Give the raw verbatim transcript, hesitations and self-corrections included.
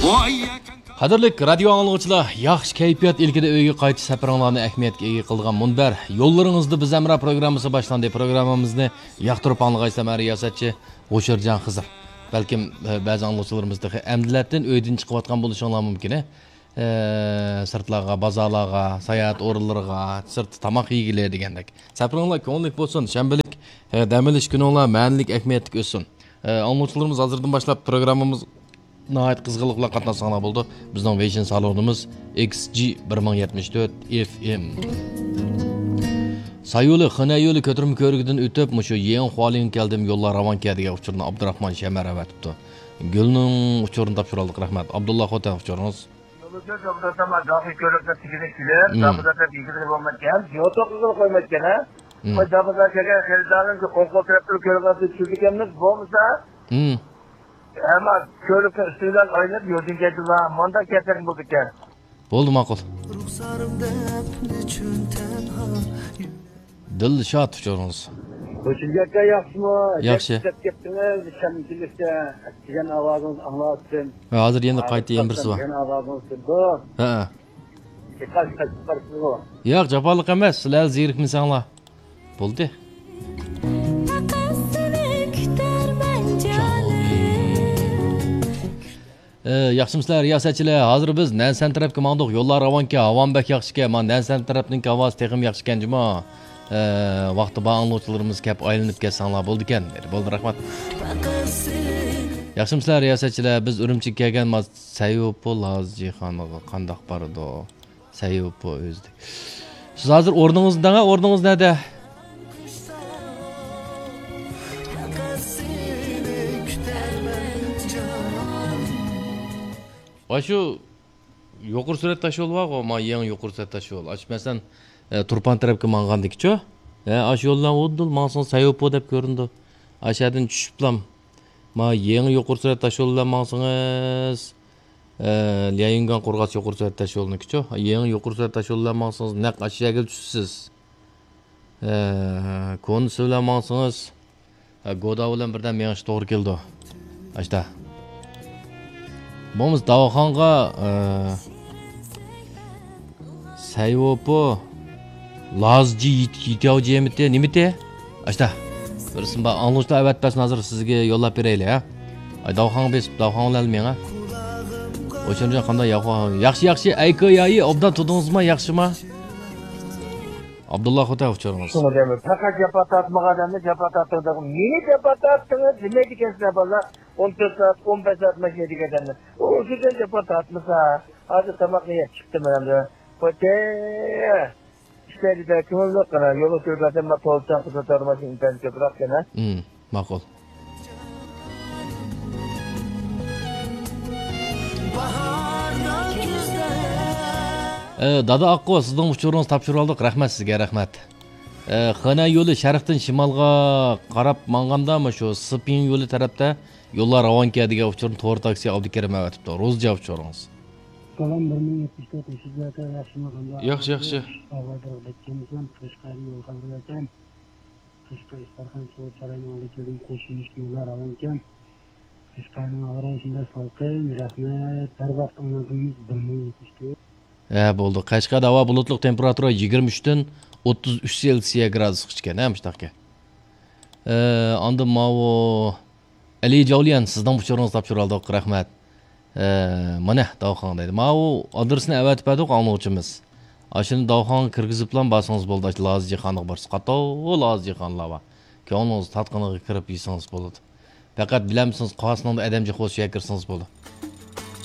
قەدىرلىك رادىيو ئاڭلىغۇچىلار، ياخشى كەيپىيات ئىلكىدە ئۆيگە قايتىش سەپىرىڭلارنى ئەھمىيەتكە ئىگە قىلىدىغان مۇنبەر يوللىرىڭىزدا بىز ھەمراھ پروگراممىسى باشلاندى. پروگراممىمىزنى ياقتۇرۇپ ئاڭلىغايسىلەر، رىياسەتچى ھوشۇرجان خىزىر. بەلكىم، ئە، بەزى ئاڭلىغۇچىلىرىمىز تېخى ئەمدىلەتتىن ئۆيدىن چىقىۋاتقان بولۇشۇڭلار مۇمكىن، ئە، سىرتلارغا، بازارلارغا، ساياھەت ئورۇنلىرىغا، سىرتتا تاماق يېگىلى دېگەندەك. سەپىرىڭلار كۆڭۈللۈك بولسۇن، شەنبىلىك، ئە، دەم ئېلىش كۈنۈڭلار مەنىلىك، ئەھمىيەتلىك ئۆتسۇن. ئە، ئاڭلىغۇچىلىرىمىز ھازىردىن باشلاپ پروگراممىمىز ناھايىتى قىزغىنلىق بىلەن قاتناشساڭلار بولىدۇ. بىزنىڭ ۋېيشىن سالونىمىز ئېكس جى بىر مىڭ يەتمىش تۆت ئېف ئېم. سايولى، خېنەيولى كۆتۈرمە كۆۋرۈكىدىن ئۆتۈپ، مۇشۇ يېڭى خۇالىڭغا كەلدىم، يوللار راۋانكەن دېگەن ئۇچۇرنى ئابدۇراخمان شەمەر ئەۋەتىپتۇ. گۈلنىڭ ئۇچۇرىنى تاپشۇرالدۇق، رەھمەت. ئابدۇللا خوتەن ئۇچۇرىڭىز. يولدا كۆپ ئولتۇرسام، داخىل كۆۋرۈكنى تېگىدىن كېلىپ، مم. داخىلدا بېكىتىدىغى بولمايدىكەن، يول توختىتىدىغى قويمايدىكەن، ھە؟ مم. قوي، داخىلدا كەلگەن خېرىدارنىڭ ئوڭ قول تەرەپتىن كۆرۈنگەن سۆز چۈشۈرىدىكەنمىز، بولمىسا، مم. ئەمما كۆۋرۈكنىڭ ئۈستىدىن ئايلىنىپ يولدىن كەتسىلا، مۇنداق كەتسەك بولىدىكەن. بولدى، ماقۇل. رۇخسارىم دەپ نېچۈن تەنھا دىلشات ئۇچۇرىڭىز. ھوشۇمجان ئاكا ياخشىمۇ؟ ياخشى. ئىشلەپ كەپتىڭىز، شەمچىلىكتە دېگەن ئاۋازىڭىزنى ئاڭلاۋاتىدىم. ھە، ھازىر يەنە قايتا يەنە بىرسى بار. دېگەن ئاۋازىڭىز كېلىدۇ. ھە. ئېقىش قاچىپ بارسىزغۇ؟ ياق، جاپالىق ئەمەس، سىلەر زېرىكمىسەڭلار. بولدى. پەقەت سېنى كۈتەرمەن جانىم. ئە، ياخشىمۇسىلەر رىياسەتچىلەر؟ ھازىر بىز نەنسەن تەرەپكە ماڭدۇق. يوللار راۋانكەن، ھاۋامۇ بەك ياخشىكەن. مانا نەنسەن تەرەپنىڭكى ھاۋاسى تېخىمۇ ياخشىكەن جۇمۇ. ئە، ۋاقتى بار ئاڭلىغۇچىلىرىمىز كەپ ئايلىنىپ كەتسەڭلار بولىدىكەن. بولدى، رەھمەت. ياخشىمۇسىلەر رىياسەتچىلەر؟ بىز ئۈرۈمچىگە كەلگەن، ما سەيۋوپو لازىجىخانىغا قانداق بارىدۇ؟ سەيۋوپو ئۆزىدە. سىز ھازىر ئورنىڭىزدا دەڭە، ئورنىڭىز نەدە؟ ئاشۇ يۇقىرى سۈرئەت تاشيولى بارغۇ، ما يېڭى يۇقىرى سۈرئەت تاشيولى. ئاشۇ مەسىلەن، ئە، تۇرپان تەرەپكە ماڭغاندىكىچۇ؟ ھە، ئاشۇ يولدىن ئۇدۇل ماڭسىڭىز سەيۋوپو دەپ كۆرۈنىدۇ. ئاشۇ يەردىن چۈشۈپلام، ما يېڭى يۇقىرى سۈرئەت تاشيولى بىلەن ماڭسىڭىز، ئە، ليەيۈنگەن قورغاس يۇقىرى سۈرئەت تاشيولىنىڭكىچۇ؟ يېڭى يۇقىرى سۈرئەت تاشيولى بىلەن ماڭسىڭىز، نەق ئاشۇ يەرگە چۈشىسىز. ئە، كونا سۇ بىلەن ماڭسىڭىز، ئە، گودا بىلەن بىردەم مېڭىش توغرا كېلىدۇ. ئاشتا. بولمىسا داۋخانغا، ئە، سەيۋوپو، لازجى يىت-، يىتياۋجى يېمىتى، نېمىتى؟ ئاشتا. بىرسى بار، ئاڭلىغۇچىلار ئەۋەتىپ بەرسۇن، ھازىر سىزگە يوللاپ بېرەيلى، ھە؟ ئاي، داۋخانغا بېسىپ، داۋخان بىلەن مېڭە. ئوچۇنجان قانداق ياخشى، ياخشى، ئەيكو يايى، ئوبدان تۇردىڭىزمۇ، ياخشىما؟ ئابدۇللا خوتەن ئۇچۇرىڭىز. شۇڭا دەيمەن، پەقەت جاپا تارتمىغان ئادەمنى جاپا تارتىدىغان. نېمە جاپا تارتتىڭىز؟ نېمە دېگەنسىلەر بالىلار؟ ئون تۆت سائەت، ئون بەش سائەت ماشىنا ھەيدىگەن ئادەمنى. ئۇ شۇ جاپا تارتمىسا، ھازىر تاماقنى يەپ چىقتىم مەن ئەمدى. خوتەن. ئىشلەيدۇ-دە، كۆڭۈللۈك قىلىڭ. يولغا كۆرۈنگەن ماشىنا ئىنتايىن كۆپرەك قىلىڭ. مم، ماقۇل. ئە، دادا ئاققۇ، سىزنىڭ ئۇچۇرىڭىزنى تاپشۇرۇۋالدۇق. رەھمەت سىزگە، رەھمەت. ئە، خېنەن يولى شەرقتىن شىمالغا قاراپ ماڭغاندا، مۇشۇ سىپىڭ يولى تەرەپتە يوللار راۋانكەن دېگەن ئۇچۇرنى تور تاكسى ئابدۇكېرىم ئەۋەتىپتۇ. روزىجان ئۇچۇرىڭىز. سالام، بىر مىڭ يەتمىش تۆت، ياخشىمۇ، قانداق؟ ياخشى، ياخشى. ئاۋازلىرىغا بەك كەمسەن، قەشقەرنى يول خەۋىرى ئەكەن. قەشقەر ئىستارخان سوۋغا ساراينىڭ ئالدىغا كەلدىم، قوشۇلۇش يوللار راۋانكەن. قەشقەرنىڭ ھاۋا رايى شۇنداق سالقىن، رەھمەت. ھەر ۋاقىت ئاڭلاپ تۇرىمىز، بىر مىڭ يەتمىش تۆت. ھە، بولدى. قەشقەردە ھاۋا بۇلۇتلۇق، تېمپېراتۇرا يىگىرمە ئۈچتىن ئوتتۇز ئۈچ سېلسىيە گرادۇسقىچىكەن، ھە، مۇشۇنداقكەن. ئە، ئاندىن ماۋۇ ئەلى جاۋلىيان، سىزنىڭ ئۇچۇرىڭىزنى تاپشۇرۇۋالدۇق، رەھمەت. ئە، مانا، داۋخان دەيدۇ. ماۋۇ ئادرېسنى ئەۋەتىپ بەردۇق ئاڭلىغۇچىمىز. ئاشۇنى داۋخانغا كىرگۈزۈپلا بارسىڭىز بولدى، ئاشۇ لازىجىخانىغا بارسا. قاتتىق لازىجىخانلار بار. كۆڭلىڭىز تارتقىنىغا كىرىپ يېسىڭىز بولىدۇ. پەقەت بىلەمسىڭىز، قاسنىڭدا ئادەم جىق بولسا، شۇ يەرگە كىرسىڭىز بولىدۇ.